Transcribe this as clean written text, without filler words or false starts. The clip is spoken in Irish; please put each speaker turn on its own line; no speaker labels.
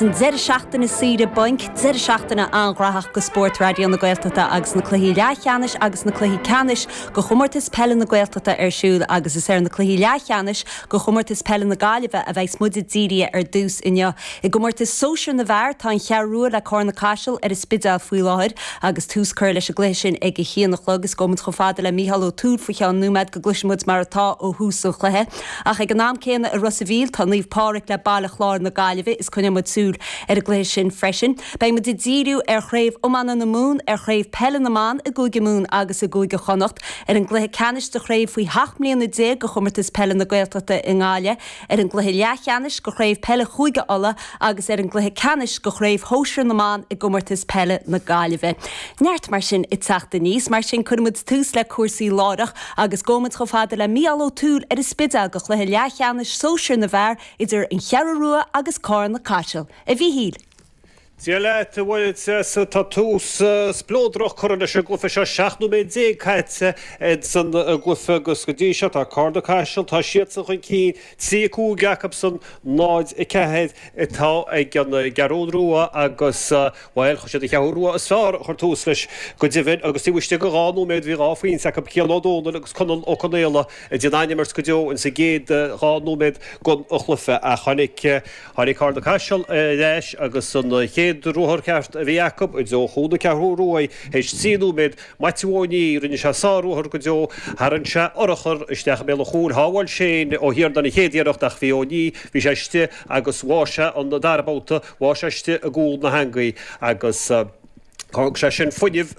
An deireadh seachtaine saoire bainc, deireadh seachtaine an-ghnóthach go spórt Raidió na Gaeltachta agus na cluichí leathcheannais agus na cluichí ceannais go Chomórtas Peile na Gaeltachta ar siúl agus is ar na cluichí leathcheannais go Chomórtas Peile na Gaillimhe a bheas muid ag díriú ar dtús inniu. I gcomórtas sóisir na bhfear tá an Cheathrú Rua le Cárna Caiseal ar an Spidéal faoi láthair agus tús curtha leis an gcluiche sin ag a haon a chlog. Is gabhfaidh muid chomh fada le Mícheál Ó Tuathail faoi cheann nóiméad go gcloisfidh muid mar atá ó thús an chluiche. Ach ag an am céanna i Ros a' Mhíl tá Naomh Pádraig le Baile Chláir na Gaillimhe is coinneoidh muid súil ar an gcluiche sin freisin. Beidh muid ag díriú ar Chraobh Iomána na Mumhan, ar Chraobh Peile na mBan i gCúige Mumhan agus i gCúige Chonnacht, ar an gcluiche ceannais de Chraobh faoi sheacht mbliana déag de Chomórtas Peile na Gaeltachta i nGaillimh, ar an gcluiche leathcheannais de Chraobh Peile Chúige Uladh agus ar an gcluiche ceannais de Chraobh Shóisir na mBan i gComórtas Peile na Gaillimhe. Neart mar sin ag teacht aníos. Mar sin cuirfidh muid tús le cúrsaí láithreach agus gabhfaidh muid chomh fada le Mícheál Ó Tuathail ar an Spidéal go chluiche leathcheannais sóisir na bhfear idir An Cheathrú Rua agus Cárna Caiseal. A Mhíchíl!
Dia leat, a Mháire. Tá tús spleodrach curtha leis an gcluiche seo, 17 nóiméad caite ins an gcluiche agus go dtí seo tá Cárna Caiseal, tá siadsan chun cinn, 3, 5 acusan, 0, 4 atá ag an gCeathrú Rua agus, bhuel, chuir siad an Cheathrú Rua is fearr a chuir tús leis go deimhin agus taobh istigh de dhá nóiméad bhí dhá phointe acu, Cian Ó Dónaill agus Conall Ó Conaola a d'fhan an-imirt go deo ins an gcéad dhá nóiméad den chluiche ach tháinig Tháinig Cárna Caiseal ar ais agus an chéad ruathar ceart a bhí acu i dtreo chúl na Ceathrú Rua théis 3 nóiméad. Maitiú Ó Ní, rinne sé sár-ruathar go deo, tharraing sé urchar isteach i mbéal an chúil, shábháil Shane Ó hIarnáin an chéad iarracht ach bhí Ó Ní, bhí sé istigh agus bháigh sé an dara babhta, bháigh sé istigh i gcúl na heangaí agus thug sé sin fuinneamh.